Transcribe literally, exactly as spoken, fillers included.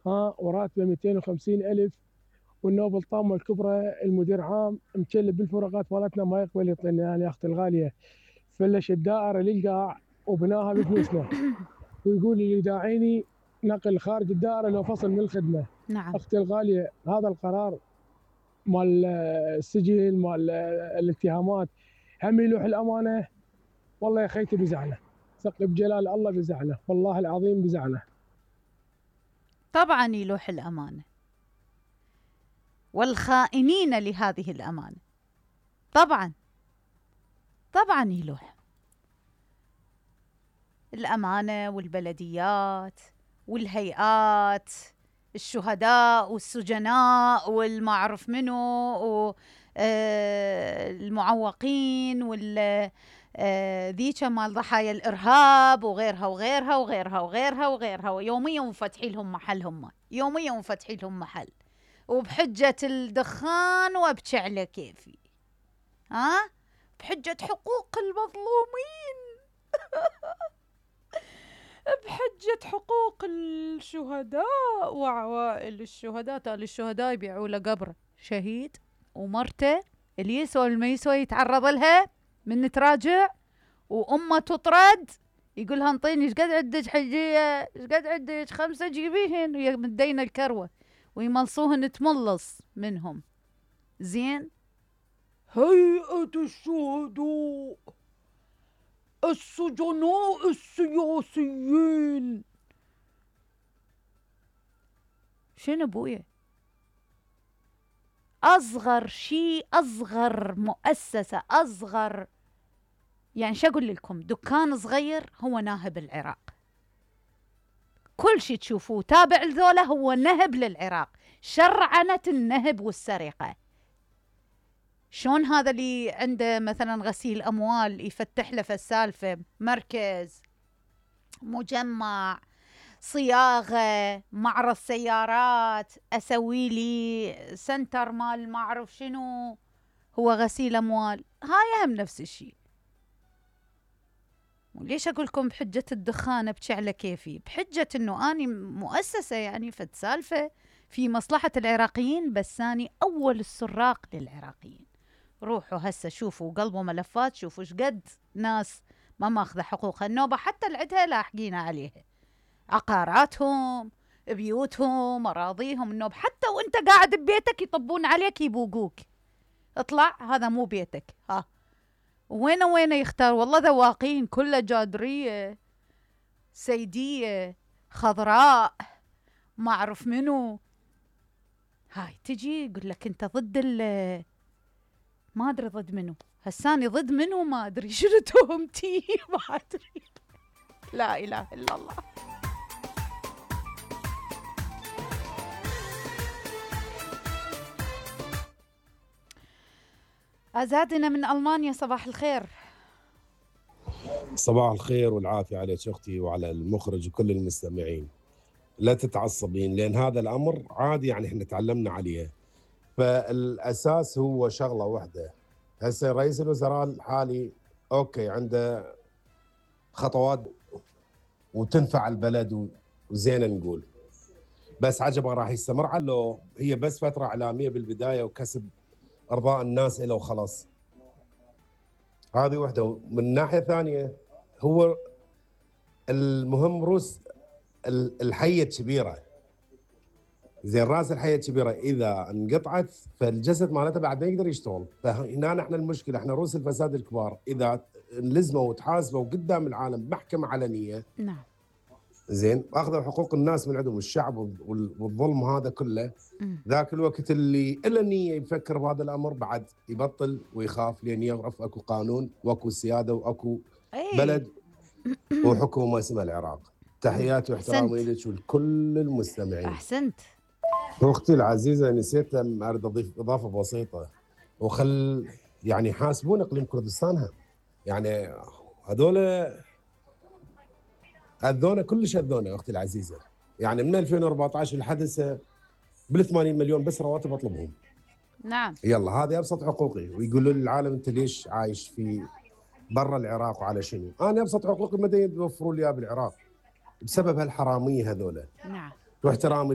ها وراتبه مئتين وخمسين ألف، والنوب الطامة الكبرى المدير عام مكلب بالفروقات مالتنا ما يقبل يعطيني يعني يا اختي الغالية. فلش الدائرة للقاع وبناها بفلوسنا، ويقول لي داعيني نقل خارج الدائرة لو فصل من الخدمة. نعم. اختي الغالية هذا القرار مال السجن مال الاتهامات هم يلوح الأمانة. والله يا خيتي بزعله، ثق بجلال الله بزعله، والله العظيم بزعله. طبعا يلوح الأمانة والخائنين لهذه الأمانة، طبعا طبعا يلوح الأمانة والبلديات والهيئات، الشهداء والسجناء والمعرف منو والمعوقين وال ذيك مال ضحايا الإرهاب وغيرها وغيرها وغيرها وغيرها وغيرها، ويوميا مفتحي لهم محلهم، يوميا مفتحي لهم محل، وبحجة الدخان وابكي على كيفي، ها بحجة حقوق المظلومين بحجة حقوق الشهداء وعوائل الشهداء. تالي الشهداء يبيعوا له قبره شهيد ومرته اللي يسوى واللي ما يسوى يتعرض لها من تراجع، وأمه تطرد يقولها انطيني ايش قد عندك حجية، ايش قد عندك خمسة جيبيهن، وهي مدينة الكروة ويملصوهن تملص منهم. زين هيئة الشهداء، السجناء السياسيين، شنو بويا؟ أصغر شيء، أصغر مؤسسة، أصغر يعني شو أقول لكم، دكان صغير هو ناهب العراق. كل شيء تشوفوه تابع لذولا هو نهب للعراق، شرعنة النهب والسرقة. شون هذا اللي عنده مثلا غسيل أموال يفتح له في السالفة مركز، مجمع، صياغة، معرض سيارات، أسوي لي سنتر مال ما أعرف شنو، هو غسيل أموال. هاي هم نفس الشيء. وليش أقول لكم بحجة الدخان ابكي على كيفي؟ بحجة إنه أني مؤسسة يعني فد سالفة في مصلحة العراقيين، بس أني أول السراق للعراقيين. روحوا هسه شوفوا قلبوا ملفات، شوفوا ايش قد ناس ما ماخذه حقوقها النوبة، حتى اللي عندها لاحقين عليها، عقاراتهم، بيوتهم، أراضيهم النوب. حتى وانت قاعد ببيتك يطبون عليك يبوقوك، اطلع هذا مو بيتك. ها وين وين يختار؟ والله ذواقين كلها جادرية سيدية خضراء ما أعرف منو. هاي تجي يقول لك انت ضد ال ما أدري ضد منو، هساني ضد منو ما أدري شنو تهمتي ما أدري. لا إله إلا الله. أزادنا من ألمانيا، صباح الخير. صباح الخير والعافية عليك أختي وعلى المخرج وكل المستمعين. لا تتعصبين لأن هذا الأمر عادي، يعني احنا تعلمنا عليه. فالأساس هو شغلة واحدة. هسه رئيس الوزراء الحالي أوكي عنده خطوات وتنفع البلد وزينة نقول، بس عجبا راح يستمر على هي بس فترة إعلامية بالبداية وكسب أرضاء الناس إله وخلاص. هذه وحده. من ناحية ثانية هو المهم روس الحية الكبيرة، زين راس الحية الكبيرة إذا انقطعت فالجسد مالتها بعد ما يقدر يشتغل. فهنا نحن المشكلة، احنا روس الفساد الكبار إذا لزموا وتحاسبوا قدام العالم محكمة علنية، نعم زين اخذوا حقوق الناس من عندهم الشعب والظلم هذا كله، ذاك الوقت اللي الا نيه يفكر بهذا الامر بعد يبطل ويخاف، لان يعرف اكو قانون واكو سياده واكو بلد وحكومه اسمها العراق. تحياتي واحترامي لك ولكل المستمعين. احسنت. اختي العزيزه نسيت اريد اضيف اضافه بسيطه، وخل يعني يحاسبون اقليم كردستان. يعني هذول اذونا كلش اذونا اختي العزيزه، يعني من ألفين وأربعطعش لحد هسه بال ثمانين مليون بس رواتب اطلبهم. نعم يلا هذه ابسط حقوقي، ويقولوا للعالم انت ليش عايش في برا العراق وعلى شنو؟ انا ابسط حقوقي ما يوفروا لي بالعراق بسبب هالحراميه هذول. نعم واحترامي